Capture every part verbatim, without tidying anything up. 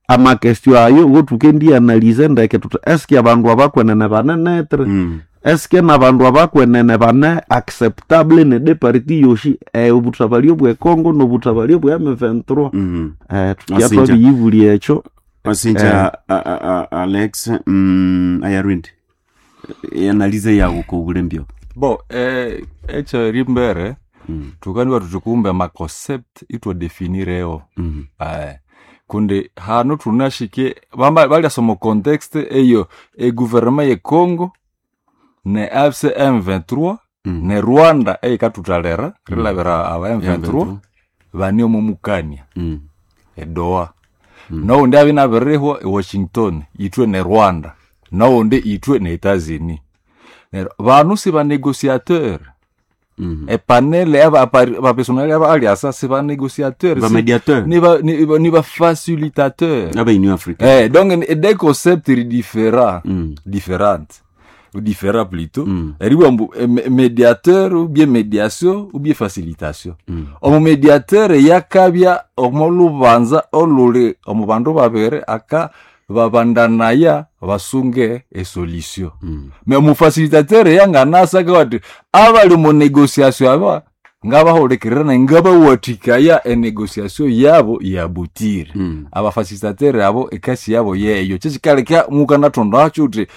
Amakestio ayo gotukendianalize ndeke tuti eske abandu abakwenene banenetre, Mm. eske nabandu abakwenene bane acceptable ne parti yoshi, eh, obuthabalyo bwe Congo nobuthabalyo bwa M vingt-trois. Mm. eh, tukia Wasinja. twabiyibulya ekyo. Wasinja a- a- a- Alex, mm, ayarwindi analize yawo kobulembyo. Bon, eh, ekyo rimbere Mm. tukaniwa tuti amaconcept itwadefinirewo. Mm. Aye. Kundi hano tunashike bamba baliasoma context eyo eguvernema ye Congo ne A F C M vingt-trois Mm. ne Rwanda eyikatutalera rilabira aba M vingt-trois bani omo mukania Mm. edoa mm. Noundi abi nabirihwa e Washington itwe ne Rwanda, noundi itwe ne Etats-Unis. Neryo banu si banégociateur. Mm. Epanele aba bapersonali aba aliasa si banégociateur, si- Bamediateur. ni ba ni ba- ni ba facilitateur. Aba Union Africaine. Eh, donc ni- des concepts différents, Mm. différentes ou différents plutôt. Mm. Eriwa mbu eh, me- médiateur ou bien médiation ou bien facilitation. Mm. Omu médiateur yakabya omu lubanza oluli omu bandu babiri aka babandanaya basunge esolution. Mm. Me omu facilitateur yanganasaka wati abali mu négociation aba ngabahulikirira ngabawathikaya enégociation yabo yabutire. Mm. Abafacilitateur abo ekasi yabo yeyo kyekikaleka mukanathondacho uthi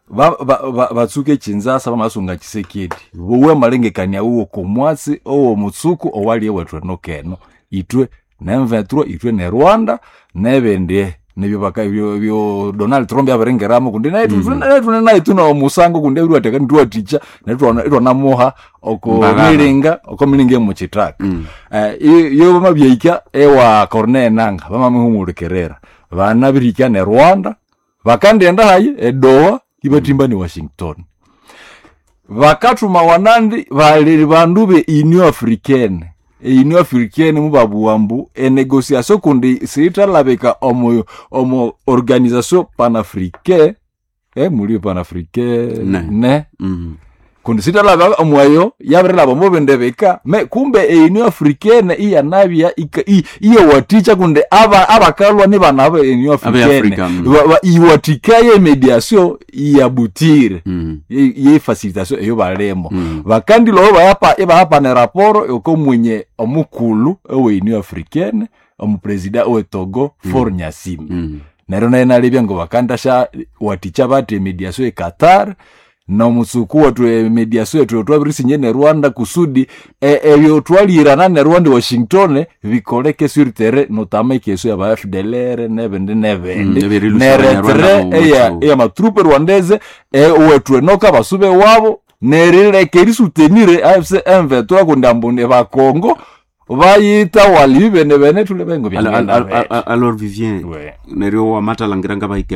ba- ba- ba- batsuke echinzasa bamasunga Chisekedi bowe amalengekania uwo komwatsi owo mutsuku owali ewethu eno keno itwe ne M vingt-trois itwe ne Rwanda nebindi nibyo baka byo byo Donald Trump yabirengeramo kundi naye tune naye tuna omusango kundi ebirwatheka nitwathicha netwanamuha oko Mbagala. milinga oko milinga emuchitaka. Mm. Eh, iyo iyo bamabyaika ewa Corneille Nanga bamamihumulikerera banabirika ne Rwanda bakandienda hayi edoa ibatimba ni Washington bakatuma wanandi baliri bandu be Union Africaine. E Union Africaine mubabuwa mbu enégociation kundi siithalabika omu omu organisation panafricaine, eh, muli panafricaine. Ne. Ne. Mm. Kundi sitalaba omwayo yabirilaba omubindi bika me kumbe e Union Africaine iyanabya ika- i- iyewathikya kundi aba abakalwa ni bana be Union Abe Africaine. Africa, mm. Wa- wa- iwathikaye emediation iyabutire, Mm. ye ye facilitation eyo balimo. Mm. Bakandilowo bayapa ibahapana eraporo okomwenye omukulhu owe Union Africaine omupresida owe Togo Faure Gnassingbe. Mm. Neryo naye nalebya ngo bakandasha wathikya bathi emediation e Qatar nomutsuku wethu emediation yethu twabirisinye ne Rwanda kusudi e- ebyo twalirana ne Rwanda e Washington bikoleke sur terrain, notamment ekeso yaba F D L R nebindi nebindi. Mm, ebirilusha neretre Abanyarwanda mu eya macho. eya matrupe rwandeze ewethu enoka basube wabo nerileka erisutenire A F C M vingt-trois kundi ambu ne bakongo bayita walibi bene bene thule bengo Al- al- al- byangenda. al- alors Vivien, Ouais. neryo wamatalangiranga bahike.